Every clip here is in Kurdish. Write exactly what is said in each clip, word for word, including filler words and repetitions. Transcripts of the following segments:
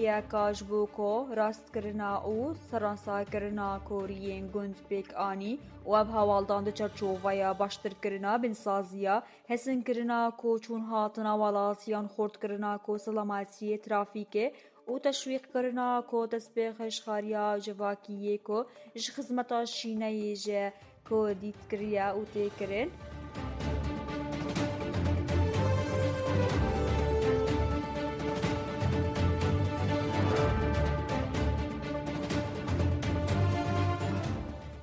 Yeka ji bo ku rastkirina û seransakirina koriyên gund pêk anî û ev hawaldan di çerçoveya baştirkirina binsaziya hesinkirina ku çûn hatina welatiyan xurtkirina ku selametiyê trafîkê û teşwîqkirina ku destpêxeşxariya civakiyê ku ji xizmeta şîneyê ji ku dît kiriye û tê kirin.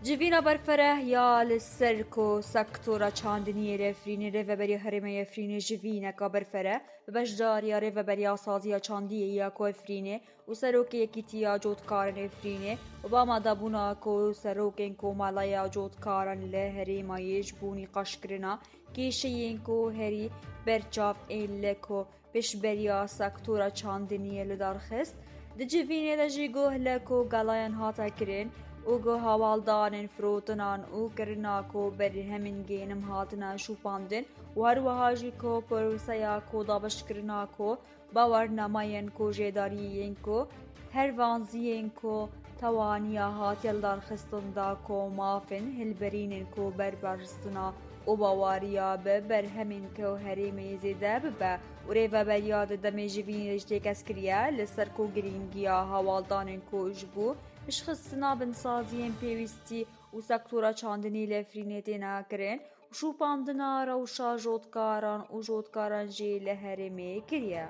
Civîna berfereh ya li ser ku sektora çandiniyê li Efrînê Rêveberiya Herêma Efrînê civîneka berfereh bi beşdariya Rêveberiya Saziya Çandiyê ya ku Efrînê û Serokê Yekîtiya Cotkaran Efrînê û bi amadebûna ku serokên Komeleya Cotkaran li herêma yê ji bo nîqaşkirina kêşeyên ku herî berçav ên li ku pêşberiya sektora çandiniyê li dar xist. Di civînê de jî guh li ku gelayan hate kirin û guh hawaldanên firotinan û kirina ku berhemên genim hatine şûpandin û her wiha jî ku proseya ku dabeşkirina ku bawernamayên ku jêdariyên ku her vanziyên ku tewaniya hatiye li dar xistin da ku mafên hilberînên ku berbaristina û bawariya bi berhemên ku herêmê zêde bibe û rêveberiya di demê jivînê de jî têkez kiriye li ser ku girîngiya hawaldanên ku ji bo piştxistina binsaziyên pêwîstî û sektora çandinî li Efrînê têne kirin û şûpandina rewşa jotkaran û jotkaran jî li herêmê kiriye.